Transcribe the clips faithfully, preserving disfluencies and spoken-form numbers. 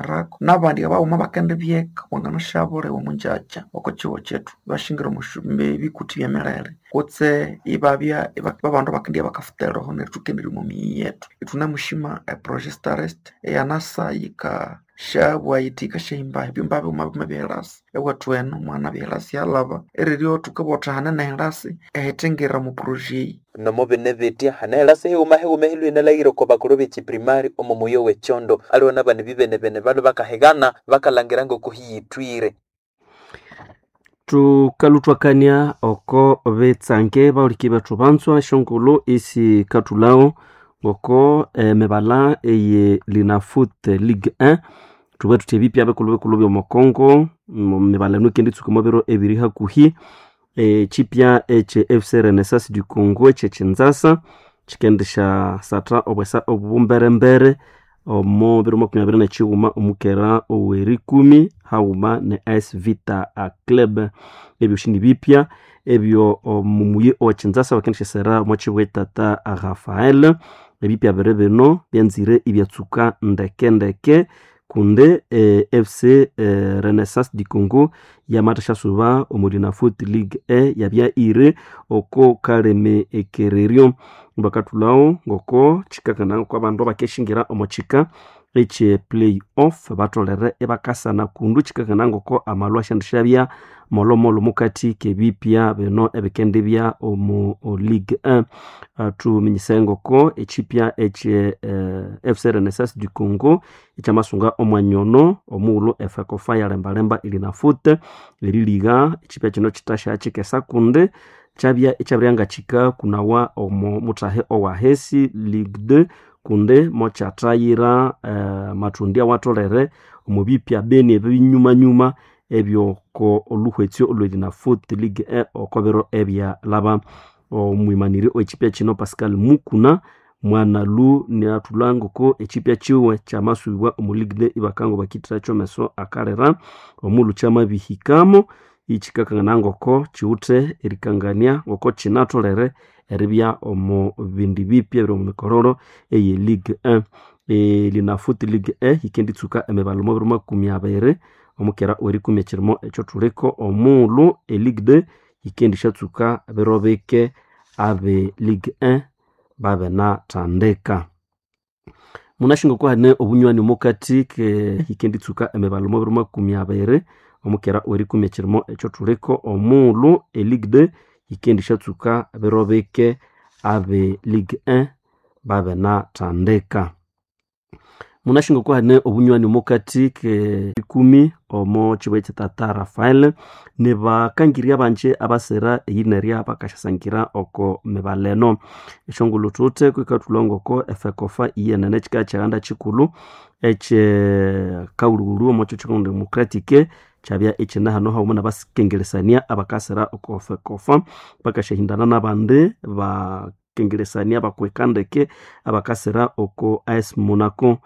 Rako n'abandi abaghuma bakendibyeka wanganasyabuliwa omungyakya oko kihugho kyethu ibashingira omu bikuthi by'emirere kutse ibabya babandu abakendibya bakafutha eroho neryo thukendirya omu miyi yethu. Ithunemushima e projet STAREST eyanasa yikasyabugha yithi yikasyahimba ebyumba bighuma bighuma eby'ehirasi ewethu enu mwanabya ehirasi yalhaba eriryo thukabugha thuthi hanene ehirasi ehithingira omu projet eyi. Nomo bine bitya hane helasi highuma highuma ehilwe inalhaghira oko bakuru b'ekiprimari omo muyi ow'ekyondo aliwe nabana bibenebene balwe bakahigana bakalhangira ngoko hiyithwire. Thukalhuthwakania oko bitsange bahuliki bethu banzwa esyongulhu isikathulhago ngoko emibalha eye Linafoot Ligue one thubughe thuthi ebipya bikulhu bikulhu by'omo Congo emibala eno yikenditsuka omo biro ebiri hakuhi. Ekyipya ekye F C Renaissance du Congo ekyekinzasa kyikendisya satha obwesa obumberembere omo biro makumi abiri n'ekighuma omukera ow'erikumi haghuma ne A S Vita Club. Ebyosi nibipya ebyo omu muyi ow'ekinzasa bakendisyasera omo kihugho tata Rafael. Ebipya biri bino byanzire ibyatsuka ndeke ndeke kundi F C Renaissance du Congo yamathasya omo Linafoot Ligue one yabya iri oko kalimi ekereryo. Bakathulhago ngoko kyikakana ngoko abandu abakeshingira omo kika ekye play off batholere ibakasana kundu kyikakana ngoko amalhwa asyandisyabya molhomolho mukathi k'ebipya bino ebikendibya omu Ligue one. Thuminyise ngoko ekyipya ekye F C Renaissance du Congo ekyamasunga omwanya ono omughulhu efekofa yalembalemba eLinafoot eriliga ekyipya kino kyithasya kyikesa kundi kyabya ikyabirihanga kyikakunawa omo muthahi owahesi Ligue two kundi mokyathayira amathundi awatholere omo bipya beni ebinyumanyuma ebyoko olhuhwetsyo olwe Linafoot Ligue one oko biro ebyalhaba. Omwimaniri ow'ekyipya kino Pascal Mukuna mwanalhu inathulha ngoko ekyipya kiwe kyamasubibwa omu Ligue two ibakanga bakithiracho ameso akalira omughulhu kyamabihikamo ikyikakangana ngoko kiwithe erikangania ngoko kinatholere eribya omo bindi bipya ebiri omo mikororo eye Ligue one. Linafoot Ligue one yikenditsuka emibala omo biro makumi abiri omukera ow'erikumi ekyirimo ekyothuliko omughulhu e Ligue two yikendisyatsuka biro bike abe Ligue one babenathandika. Munasi ngoko hane obunywani omukathi ke yikenditsuka emibala omo biro makumi abiri omukera ow'erikumi ekyirimo ekyothuliko omughulhu e Ligue two yikendisyatsuka biro bike abe Ligue one babenathandika. Munasi ngoko hane obunywani omukathi ke ikumi omo kihugho ekyetata Rafael nibakangirya abanji abasira eyinerya bakasyasangira oko mibala eno. Esyongulhu thuwithe kwikathulha ngoko efekofa iyenene kyikabya kyighanda kyikulhu ekye kaghulhughulhu omo kihugho kye Congo Democratic kyabya ikyine hano haghuma n'abakengeresania abakasira oko fekofa bakasyahindana n'abandi bakengeresania abakweka ndeke abakasira oko A S Monaco.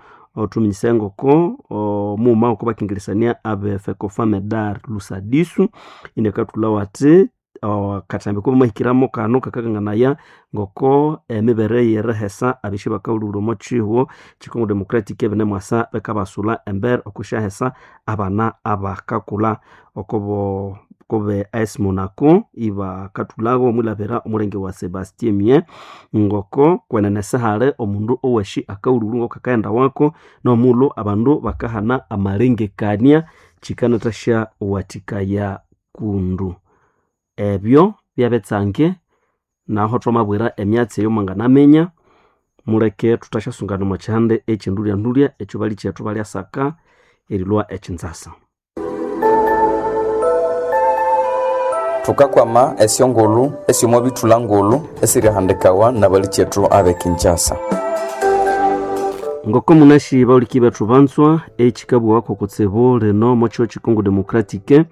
Thuminyise ngoko omughuma oko bakengeresania abe fekofa Medar Lusadisu inakathulhawo athi akathambi akabamahikiramo kano kakakanganaya ngoko emibere y'erihesa abisyo bakaghulhughulha omo kihugho kye Congo Democratic ibinemwasa bikabasulha embere okwisyahesa abana abakakulha okobo kobe A S Monaco ibakathulhago omwilhabira omulenge wa Sebastien Mien ngoko kwenene sihali omundu owashi akaghulhughulhu ngoko akaghenda wako n'omughulhu abandu bakahana amalengekania kyikanathasya wathikaya kundu. Ebyo byabitsange naho thwamabwira emyatsi eyo mwanganaminya muleke thuthasyasungana omo kyihanda ekyendulya-ndulya ekyo balikyethu balyasaka erilhwa ekinzasa. Thukakwama esyongulhu esyomo bithulha ngulhu esirihandikawa nabalikyethu abe Kinshasa. Ngoko munasi bahuliki bethu banzwa ekyikabugha kutsibu lino omo kihugho kye Congo Democratic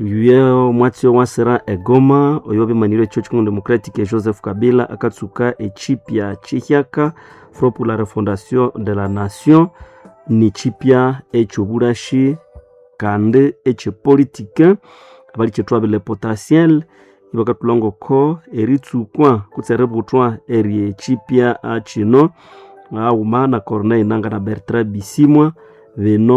omwatsi owasira egoma oyo wabimanirye ekihugho kye Congo Democratic Joseph Kabila akatsuka ekyipya kyihyaka Front pour la refondation de la nation nikyipya ekyobulhashi kandi ekyepolitike abalikyethu abile potentiel ibakathulha ngoko eritsukwa kutse eributhwa eryekyipya kino haghuma na Corneille Nangaa na Bertrand Bisimwa bino.